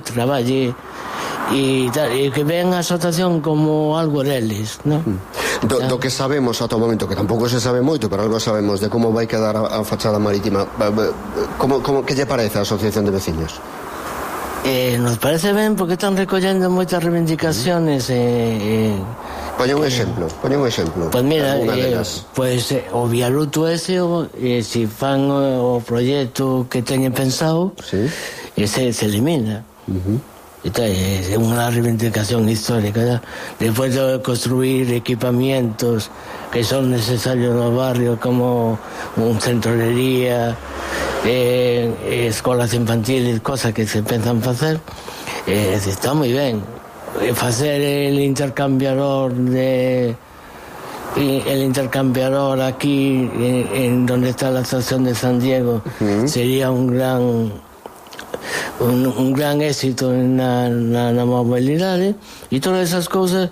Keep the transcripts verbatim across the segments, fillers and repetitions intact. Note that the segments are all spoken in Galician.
traballe e, e que vean a asociación como algo deles, non? Do, do que sabemos ata o momento, que tampouco se sabe moito, pero algo sabemos de como vai quedar a, a fachada marítima, como, como que lle parece a Asociación de Veciños? Eh, nos parece ben porque están recollendo moitas reivindicaciones e... Eh, Poña un exemplo, poña un exemplo. Pois mira, eh, pois eh, o viaduto ese, o, eh, si fan o, o proxecto que teñen pensado, sí, ese se elimina. Uh-huh. Esta é unha reivindicación histórica, ¿ya? Despois de construir equipamientos que son necesarios no barrio, como un centro de día, eh, escolas infantiles, cosas que se pensan facer, eh, está moi ben. Facer el intercambiador de el intercambiador aquí en, en donde está la estación de San Diego, uh-huh, sería un gran un, un gran éxito en la, la, la movilidad, ¿eh? Y todas esas cosas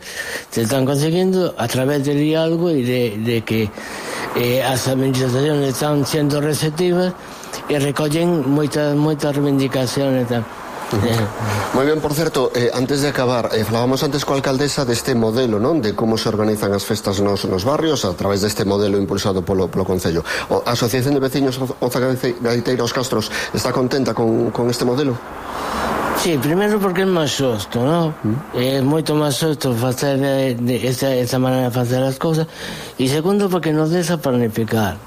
se están consiguiendo a través del diálogo y de, de que eh, las administraciones están siendo receptivas y recollen moitas moitas reivindicaciones tamén. Uh-huh. Moi ben, por certo, eh, antes de acabar, eh, falábamos antes coa alcaldesa deste modelo, non? De como se organizan as festas nos, nos barrios a través deste modelo impulsado polo, polo Concello. O, a Asociación de Veciños Oza Gaiteira Os Castros está contenta con, con este modelo? Sí, primeiro porque é máis xusto, non? Uh-huh. É moito máis xusto facer de, de esa, esa maneira de facer as cousas, e segundo porque nos deixa planificar.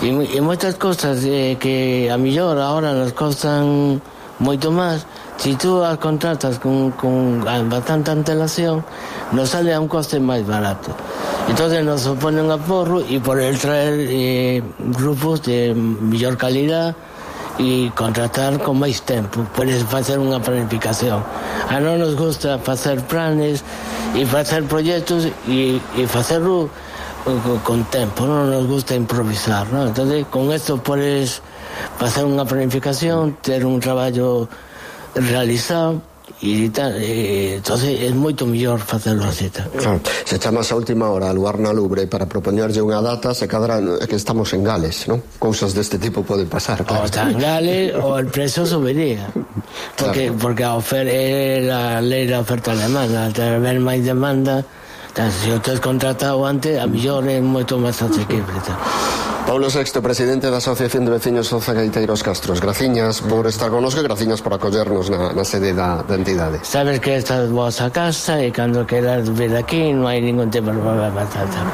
E, e moitas cosas eh, que a millor ahora nos costan moito máis, se tú as contratas con, con bastante antelación, nos sale a un coste máis barato. Entonces nos supone un aporro e por el traer eh, grupos de mellor calidad e contratar con máis tempo, podes facer unha planificación. A non nos gusta facer planes e facer proxectos e, e facerlo con tempo, non nos gusta improvisar, non? Entonces con esto podes facer unha planificación, ter un traballo realizado e tal, e, entonces é moito mellor facelo así. Claro, se chamas a última hora a lugar na Lubre para propoñerlle unha data, se cadra que estamos en Gales, non? Cousas deste tipo poden pasar, claro. O está en Gales ou el precio subiría, porque, claro, porque a oferta é a lei da oferta alemana, al ter máis demanda, se o tes contratado antes, a mellor é moito máis asequible. Paulo Sexto, presidente da Asociación de Veciños Oza Gaiteira Os Castros, graciñas por estar connosco e graciñas por acollernos na, na sede da, da entidade. Sabes que esta é vosa casa e cando queras vir aquí non hai ningún tipo de problema.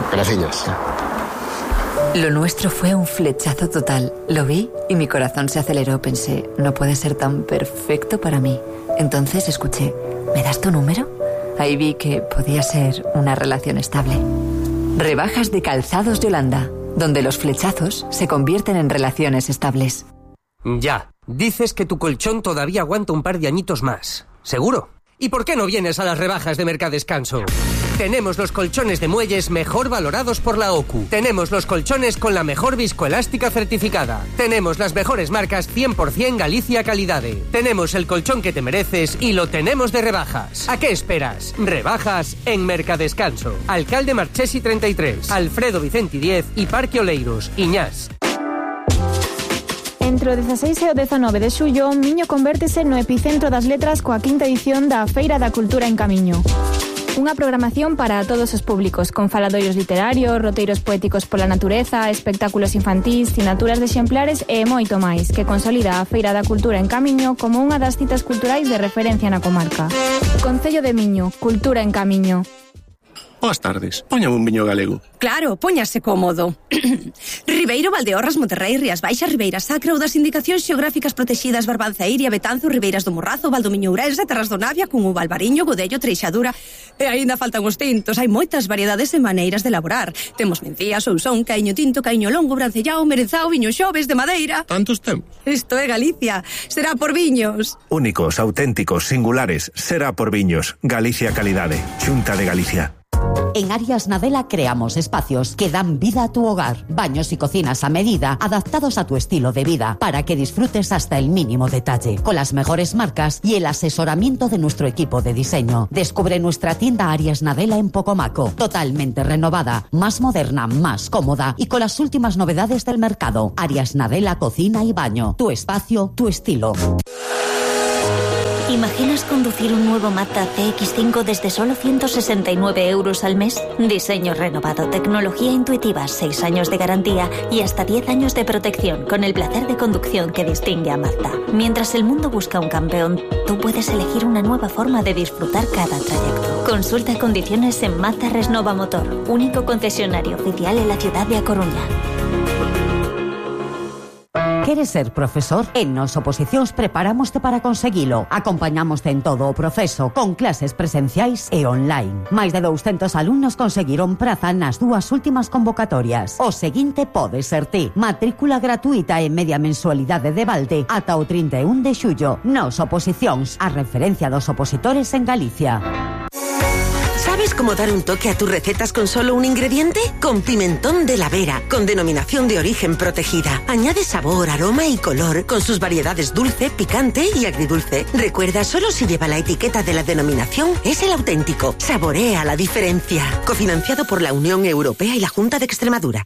Graciñas. Lo nuestro fue un flechazo total. Lo vi y mi corazón se aceleró. Pensé, no puede ser tan perfecto para mí. Entonces escuché, ¿me das tu número? Ahí vi que podía ser una relación estable. Rebajas de Calzados Yolanda, donde los flechazos se convierten en relaciones estables. Ya, dices que tu colchón todavía aguanta un par de añitos más. ¿Seguro? ¿Y por qué no vienes a las rebajas de Mercadescanso? Tenemos los colchones de muelles mejor valorados por la O C U. Tenemos los colchones con la mejor viscoelástica certificada. Tenemos las mejores marcas cien por ciento Galicia Calidade. Tenemos el colchón que te mereces y lo tenemos de rebajas. ¿A qué esperas? Rebajas en Mercadescanso. Alcalde Marchesi treinta y tres, Alfredo Vicente diez y Parque Oleiros, Iñás. Entre o dezaseis e o dezanove de xullo, Miño convértese no epicentro das letras coa quinta edición da Feira da Cultura en Camiño. Unha programación para todos os públicos, con faladoiros literarios, roteiros poéticos pola natureza, espectáculos infantís, sinaturas de exemplares e moito máis, que consolida a Feira da Cultura en Camiño como unha das citas culturais de referencia na comarca. Concello de Miño, Cultura en Camiño. Boas tardes, póñame un viño galego. Claro, póñase cómodo. Ribeiro, Valdeorras, Monterrey, Rías Baixas, Ribeira Sacra ou das indicacións xeográficas protegidas Barbanza, Iria, Betanzo, Ribeiras do Morrazo, Valdomiño, Ourense, Terras do Navia, Cunhuva, Albariño, Godello, Treixadura. E aínda faltan os tintos, hai moitas variedades e maneiras de elaborar. Temos mencía, sousón, caíño tinto, caíño longo, brancellao, merenzao, viño xoves de madeira. Tantos tempos. Isto é Galicia, será por viños. Únicos, auténticos, singulares, será por viños. Galicia Calidade, Xunta de Galicia. En Arias Nadela creamos espacios que dan vida a tu hogar. Baños y cocinas a medida, adaptados a tu estilo de vida, para que disfrutes hasta el mínimo detalle. Con las mejores marcas y el asesoramiento de nuestro equipo de diseño. Descubre nuestra tienda Arias Nadela en Pocomaco. Totalmente renovada, más moderna, más cómoda y con las últimas novedades del mercado. Arias Nadela Cocina y Baño. Tu espacio, tu estilo. ¿Imaginas conducir un nuevo Mazda C X cinco desde solo ciento sesenta y nueve euros al mes? Diseño renovado, tecnología intuitiva, seis años de garantía y hasta diez años de protección, con el placer de conducción que distingue a Mazda. Mientras el mundo busca un campeón, tú puedes elegir una nueva forma de disfrutar cada trayecto. Consulta condiciones en Mazda Resnova Motor, único concesionario oficial en la ciudad de A Coruña. Queres ser profesor? En Nos Oposicións preparamoste para conseguilo. Acompañamoste en todo o proceso, con clases presenciais e online. Máis de douscentos alumnos conseguiron praza nas dúas últimas convocatorias. O seguinte pode ser ti. Matrícula gratuita e media mensualidade de balde ata o trinta e un de xullo. Nos Oposicións, a referencia dos opositores en Galicia. ¿Sabes cómo dar un toque a tus recetas con solo un ingrediente? Con pimentón de la Vera, con denominación de origen protegida. Añade sabor, aroma y color, con sus variedades dulce, picante y agridulce. Recuerda, solo si lleva la etiqueta de la denominación es el auténtico. Saborea la diferencia. Cofinanciado por la Unión Europea y la Junta de Extremadura.